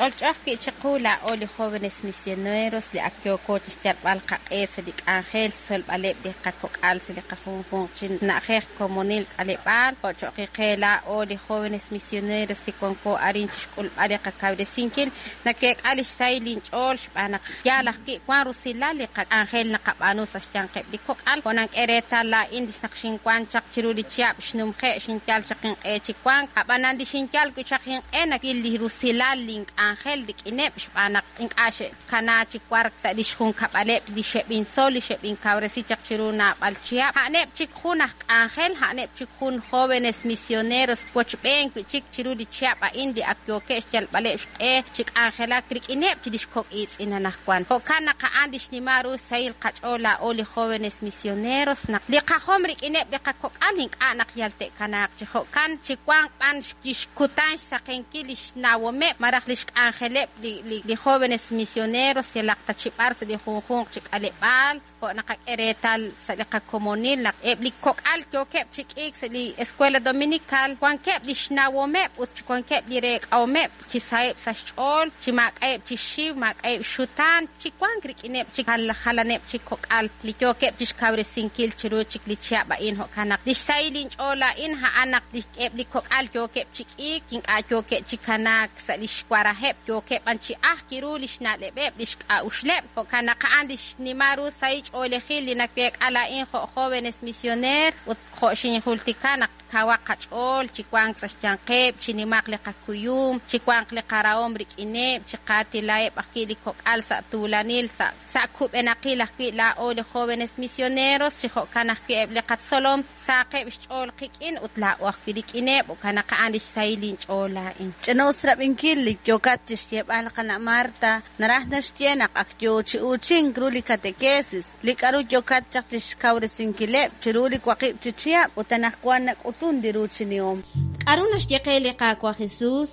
Ch'olch'o ajwi' chiqu laa'o li Jóvenes Misioneros li ak yooko chixyalb'al qaq'e sa' li k'anjel xtzolb'aleb' li qakok'al sa' li qajunjunq chi na'ajej, komonil, k'aleb'aal, jo' cho'q qe laa'o li Jóvenes Misioneros li wanko arin chixk'ulb'al li qakawresinkil, naweek'a lix sahil inch'ool xb'aan naq yaal ajwi' wan rusilal li qak'anjel naqab'aanu sa' xyanqeb' li kok'al. Jo' nank'e reetal laa'in li naq xinwan chaq chiru li chihab' xnumje' xinyal chaq inq'e chi wank, a'b'anan li xinyal wi' chaq inq'e nawil li rusilal link'anjel rik'ineb' xb'aan naq ink'a' xe'kana chi wark sa' lix junkab'aleb' li xeb'intzol, li xeb'inkawresi chaq chiru naab'al chihab'. A'aneb' chik jun aj k'anjel, a'aneb' chik jun Jóvenes Misioneros wochb'een wi' chik chiru li chihab' a'in li ak yookeb' xyalb'aleb' xq'e chi k'anjelak rik'ineb' chi lix kok' iitz'in anajwan. Jo'kan naq a'an li xnimal ru xsahil qach'ool laa'o li Jóvenes Misioneros naq li qajom rik'ineb' li qakok'al ink'a' naq yal te'kanaaq chi jo'kan, chi wanq b'an lix kutan xsaqenkil lix xnawomeb' malaj lix k'anjeleb' li Jóvenes Misioneros yalaq ta chi b'ar sa' li junjunq chi k'aleb'aal. Jo' naqak'e reetal sa' li qakomonil naq eb' li kok'al yookeb' chi k'iik sa' li Escuela Dominical wankeb' li xnawomeb' ut wankeb' li reek'ahomeb' chi saheb' sa' xch'ool, chi maak'a'eb' chi xiw, maak'a'eb' xxutaan, chi wank rik'ineb' chik jalaneb' chik kok'al li yookeb' chixkawresinkil chiru chik li chihab' a'in. Jo'kan naq lix sahil inch'ool laa'in a'an naq eb' li kok'al yookeb' chi k'iik, ink'a' yookeb' chi kanaak sa' lix warajeb', yookeb' b'an chi ajk ru lix na'leb'eb', lix k'a'uxleb'. Jo'kan naq a'an lix xnimal ru sahil ch'oolejil li naweek'a laa'in jo' Jóvenes Misioneer ut jo' xinjultika naq kawaq qach'ool chi wank sa' xyanqeb', chi nimaq li qakuyum, chi wanq li qarahom rik'ineb', chi qaatilaheb' ajwi' li kok'al sa' tuulanil, sa' sa' kub'enaqil ajwi' laa'o li Jóvenes Misioneros, chi jo'kan ajwi' eb' li qatzolom sahaqeb' xch'ool qik'in ut laa'o ajwi' rik'ineb', jo'kan naq a'an lix sahil inch'ool laa'in. Ch'ina-us rab'inkil li yookat chixyeeb'al qana' Marta, naraj naxye naq ak yoo chi uuchink ru li katekesis, li k'a'ru yookat chaq chixkawresinkileb' chiru li waqib' chi chihab' ut anajwan nak'utun li ruuchinihom. K'aru naxye qe li Qaawa' Jesus?